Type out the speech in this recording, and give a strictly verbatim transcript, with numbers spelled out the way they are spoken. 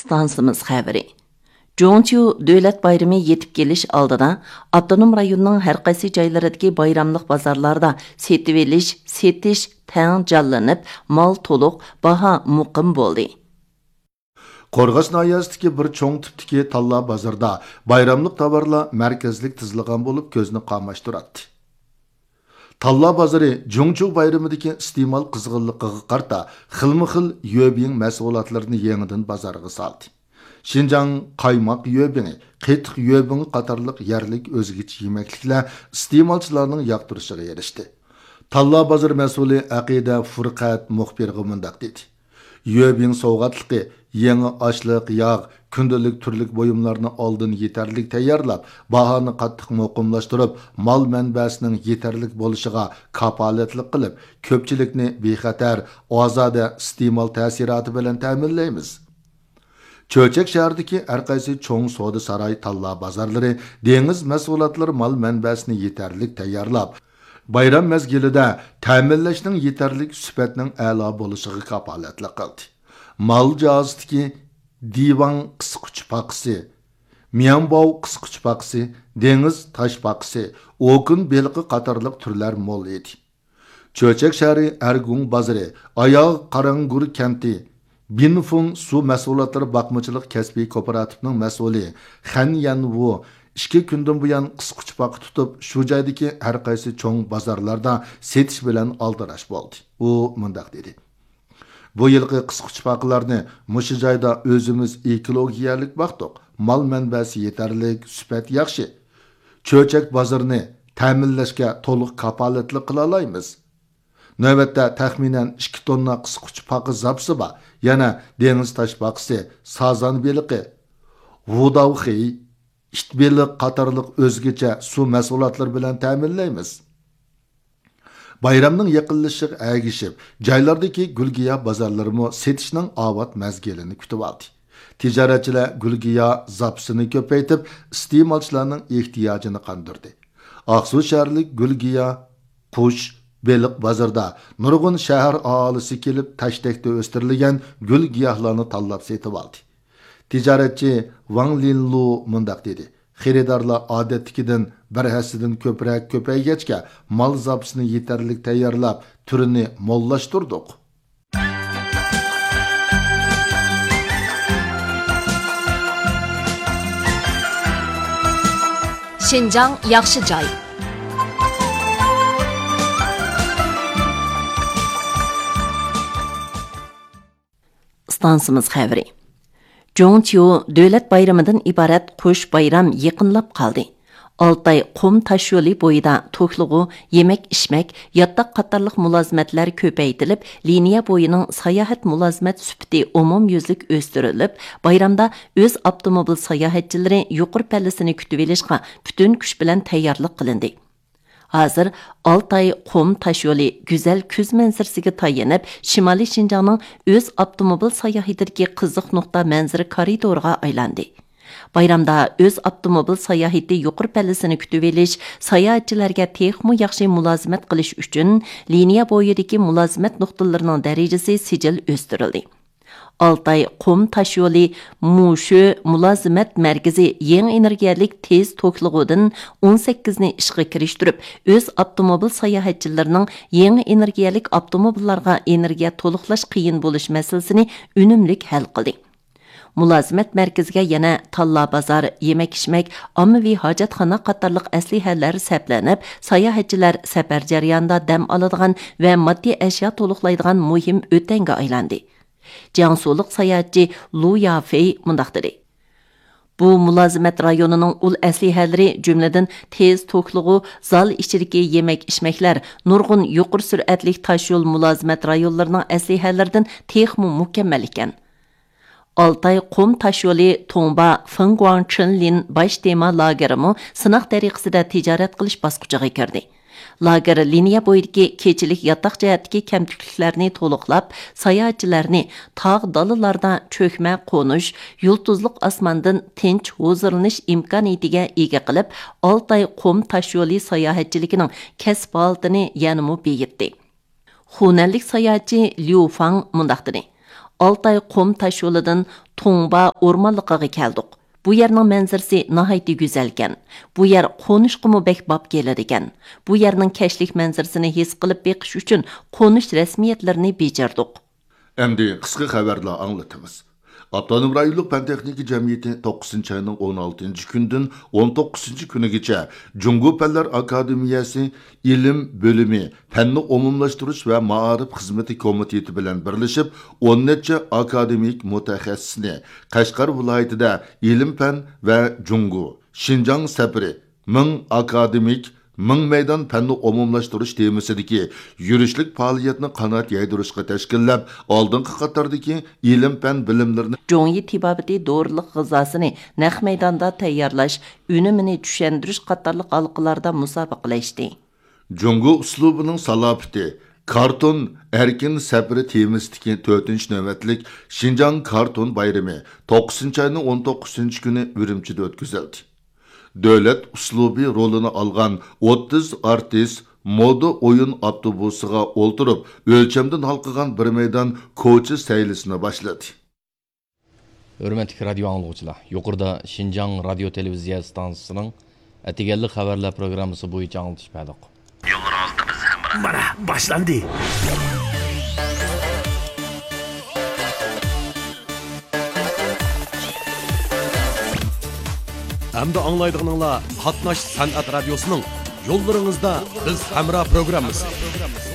ئىستانسىمىز خەۋىرى. جۇڭچيۇ دۆلەت بايرىمى يېتىپ كېلىش ئالدىدا، ئاپتونوم رايوننىڭ ھەر قايسى جايلىرىدىكى بايراملىق بازارلاردا سېتىۋېلىش، سېتىش تەڭ جانلىنىپ، مال تولۇق، باھا مۇقىم بولدى. قورغاس ناھىيەسىدىكى بىر چوڭ تىپتىكى تاللا بازىرىدا بايراملىق تاۋارلار مەركەزلىك تىزىلغان بولۇپ، كۆزنى قاماشتۇراتتى. تاللا بازىرى جۇڭچيۇ بايرىمىدىكى ئىستېمال قىزغىنلىقىغا قارىتا، خىلمۇ خىل يۈەبىڭ مەھسۇلاتلىرىنى يېڭىدىن بازارغا سالدى. شىنجاڭ قايماق يۈەبىڭى، قېتىق يۈەبىڭى قاتارلىق يەرلىك ئۆزگىچە يېمەكلىكلەر ئىستېمالچىلارنىڭ ياقتۇرۇشىغا ئېرىشتى. تاللا بازىرى مەسئۇلى ئەقىدە فۇرقەت مۇخبىرغا مۇنداق دېدى: يۈەبىڭ سوۋغاتلىقى، يېڭى ئاشلىق، ياغ، كۈندىلىك تۈرلۈك بۇيۇملارنى ئالدىن يېتەرلىك تەييارلاپ، باھانى قاتتىق مۇقىملاشتۇرۇپ، مال مەنبەسىنىڭ يېتەرلىك بولۇشىغا كاپالەتلىك قىلىپ، كۆپچىلىكنى بىخەتەر، ئازادە ئىستېمال تەسىراتى بىلەن تەمىنلەيمىز. چۆچەك شەھىرىدىكى ھەر قايسى چوڭ سودا ساراي، تاللا بازارلىرى، دېڭىز مەھسۇلاتلىرى مال مەنبەسىنى يېتەرلىك تەييارلاپ، بايرام مەزگىلىدە تەمىنلەشنىڭ يېتەرلىك، سۈپەتنىڭ ئەلا بولۇشىغا كاپالەتلىك قىلدى. مال جازىسىدىكى دىۋاڭ قىسقۇچ پاقىسى، مياڭباۋ قىسقۇچ پاقىسى، دېڭىز تاش پاقىسى، ئوكۇن بېلىقى قاتارلىق تۈرلەر مول ئىدى. چۆچەك شەھىرى ئەرگۇڭ بازىرى، ئاياغ قاراڭگۈر كەنتى، بىنفۇڭ سۇ مەھسۇلاتلىرى باقمىچىلىق كەسپىي كوپىراتىپىنىڭ مەسئۇلى خەن يەنۋۇ ئىككى كۈندىن بۇيان قىسقۇچ پاقا تۇتۇپ، شۇ جايدىكى ھەر قايسى چوڭ بازارلاردا سېتىش بىلەن ئالدىراش بولدى. ئۇ مۇنداق دېدى: بۇ يىلقى قىسقۇچ پاقىلارنى مۇشۇ جايدا ئۆزىمىز ئېكولوگىيەلىك باقتۇق. مال مەنبەسى يېتەرلىك، سۈپەت ياخشى. چۆچەك بازىرىنى تەمىنلەشكە تولۇق كاپالەتلىك قىلالايمىز. نۆۋەتتە تەخمىنەن ئىككى توننا قىسقۇچ پاقا زاپىسى بار. يەنە دېڭىز تاش پاقىسى، سازان بېلىقى، ۋۇداۋخېي، ئىت بېلىق قاتارلىق ئۆزگىچە سۇ مەھسۇلاتلىرى بىلەن تەمىنلەيمىز. بايرامنىڭ يېقىنلىشىشىغا ئەگىشىپ، جايلاردىكى گۈل-گىياھ بازارلىرىمۇ سېتىشنىڭ ئاۋات مەزگىلىنى كۈتۈۋالدى. تىجارەتچىلەر گۈل-گىياھ زاپىسىنى كۆپەيتىپ، ئىستېمالچىلارنىڭ ئېھتىياجىنى قاندۇردى. ئاقسۇ شەھەرلىك گۈل-گىياھ، قۇش، بېلىق بازىرىدا نۇرغۇن شەھەر ئاھالىسى كېلىپ، تەشتەكتە ئۆستۈرۈلگەن گۈل-گىياھلارنى تاللاپ سېتىۋالدى. تىجارەتچى ۋاڭ لىنلۇ مۇنداق دېدى: خېرىدارلار ئادەتتىكىدىن بىر ھەسسىدىن كۆپرەك كۆپەيگەچكە، مال زاپىسىنى يېتەرلىك تەييارلاپ، تۈرىنى موللاشتۇردۇق. شىنجاڭ ياخشى جاي. ئىستانسىمىز خەۋىرى. جۇڭچيۇ دۆلەت بايرىمىدىن ئىبارەت قوش بايرام يېقىنلاپ قالدى. ئالتاي قۇم تاشيولى بويىدا توكلىغۇ، يېمەك-ئىچمەك، ياتاق قاتارلىق مۇلازىمەتلەر كۆپەيتىلىپ، لىنىيە بويىنىڭ ساياھەت مۇلازىمەت سۈپىتى ئومۇميۈزلۈك ئۆستۈرۈلۈپ، بايرامدا ئۆز ئاپتوموبىل ساياھەتچىلىرى يۇقىرى پەللىسىنى كۈتۈۋېلىشقا پۈتۈن كۈچ بىلەن تەييارلىق قىلىندى. ھازىر ئالتاي قۇم تاشيولى گۈزەل كۈز مەنزىرىسىگە تايىنىپ، شىمالىي شىنجاڭنىڭ ئۆز ئاپتوموبىل ساياھىتىدىكى قىزىق نۇقتا مەنزىرە كارىدورىغا ئايلاندى. بايرامدا ئۆز ئاپتوموبىل ساياھىتى يۇقىرى پەللىسىنى كۈتۈۋېلىش، ساياھەتچىلەرگە تېخىمۇ ياخشى مۇلازىمەت قىلىش ئۈچۈن لىنىيە بويىدىكى مۇلازىمەت نۇقتىلىرىنىڭ دەرىجىسى سىجىل ئۆستۈرۈلدى. ئالتاي قۇم تاشيولى مۇشۆ مۇلازىمەت مەركىزى يېڭى ئېنېرگىيەلىك تېز توكلىغۇدىن ئون سەككىزنى ئىشقا كىرىشتۈرۈپ، ئۆز ئاپتوموبىل ساياھەتچىلىرىنىڭ يېڭى ئېنېرگىيەلىك ئاپتوموبىللارغا ئېنېرگىيە تولۇقلاش قىيىن بولۇش مەسىلىسىنى ئۈنۈملۈك ھەل قىلدى. مۇلازىمەت مەركىزىگە يەنە تاللا بازار، يېمەك-ئىچمەك، ئاممىۋى ھاجەتخانا قاتارلىق ئەسلىھەلەر سەپلىنىپ، ساياھەتچىلەر سەپەر جەريانىدا دەم ئالىدىغان ۋە ماددىي ئەشيا تولۇقلايدىغان مۇھىم ئۆتەڭگە ئايلاندى. جياڭسۇلۇق ساياھەتچى لۇ يافېي مۇنداق دېدى: بۇ مۇلازىمەت رايونىنىڭ ئۇل ئەسلىھەلىرى، جۈملىدىن تېز توكلىغۇ، زال ئىچىدىكى يېمەك-ئىچمەكلەر نۇرغۇن يۇقىرى سۈرئەتلىك تاشيول مۇلازىمەت رايونلىرىنىڭ ئەسلىھەلىرىدىن تېخىمۇ مۇكەممەل ئىكەن. ئالتاي قۇم تاشيولى توڭبا فېڭگۇاڭ چېنلىن باش تېما لاگېرىمۇ سىناق تەرىقىسىدە تىجارەت قىلىش باسقۇچىغا كىردى. لاگېر لىنىيە بويىدىكى كېچىلىك ياتاق جەھەتتىكى كەمتۈكلۈكلەرنى تولۇقلاپ، ساياھەتچىلەرنى تاغ دالىلاردا چۆكمە قونۇش، يۇلتۇزلۇق ئاسماندىن تىنچ ھۇزۇرلىنىش ئىمكانىيىتىگە ئىگە قىلىپ، ئالتاي قۇم تاشيولى ساياھەتچىلىكىنىڭ كەسىپ ھالىتىنى يەنىمۇ بېيىتتى. خۇنەنلىك ساياھەتچى ليۇ فاڭ مۇنداق دېدى: ئالتاي قۇم تاشيولىدىن تۇڭبا ئورمانلىقىغا كەلدۇق. بۇ يەرنىڭ مەنزىرىسى ناھايىتى گۈزەلكەن. بۇ يەر قونۇشقىمۇ بەك باب كېلىدىكەن. بۇ يەرنىڭ كەچلىك مەنزىرىسىنى ھېس قىلىپ بېقىش ئۈچۈن قونۇش رەسمىيەتلىرىنى بېجىردۇق. ئەمدى قىسقا خەۋەرلەر ئاڭلىتىمىز. ئاپتونوم رايونلۇق پەن تېخنىكا جەمئىيىتى توققۇزىنچى ئاينىڭ ئون ئالتىنچى كۈنىدىن ئون توققۇزىنچى كۈنىگىچە جۇڭگو پەنلەر ئاكادېمىيەسى ئىلىم بۆلۈمى، پەننى ئومۇملاشتۇرۇش ۋە مائارىپ خىزمىتى كومىتېتى بىلەن بىرلىشىپ، ئون نەچچە ئاكادېمىك مۇتەخەسسىسنى قەشقەر ۋىلايىتىدە ئىلىم پەن ۋە جۇڭگو، شىنجاڭ سەپىرى، مىڭ ئاكادېمىك، مىڭ مەيدان پەننى ئومۇملاشتۇرۇش تېمىسىدىكى يۈرۈشلۈك پائالىيەتنى قانات يايدۇرۇشقا تەشكىللەپ، ئالدىنقى قاتاردىكى ئىلىم پەن بىلىملىرىنى جۇڭيى تېبابىتى دورىلىق غىزاسىنى نەق مەيداندا تەييارلاش، ئۈنۈمىنى چۈشەندۈرۈش قاتارلىق ھالقىلاردا مۇسابىقىلەشتى. جۇڭگو ئۇسلۇبىنىڭ سالاپىتى، كارتون ئەركىن سەپىرى تېمىسىدىكى تۆتىنچى نۆۋەتلىك شىنجاڭ كارتون بايرىمى توققۇزىنچى ئاينىڭ ئون توققۇزىنچى كۈنى ئۈرۈمچىدە ئۆتكۈزۈلدى. دۆلەت ئۇسلۇبى رولىنى ئالغان ئوتتۇز ئارتىس مودا ئويۇن ئاپتوبۇسىغا ئولتۇرۇپ، ئۆلچەمدىن ھالقىغان بىر مەيدان كوچا سەيلىسىنى باشلىدى. ھۆرمەتلىك رادىيو ئاڭلىغۇچىلار، يۇقىرىدا شىنجاڭ رادىيو تېلېۋىزىيە ئىستانسىسىنىڭ ئەتىگەنلىك خەۋەرلەر پروگراممىسى بويىچە ئاڭلىتىش بەردۇق. يوللىرىڭىزدا بىز ھەمراھ. مانا، باشلاندى. ئەمدى ئاڭلايدىغىنىڭلار قاتناش سەنئەت رادىيوسىنىڭ يوللىرىڭىزدا بىز ھەمراھ پروگراممىسى.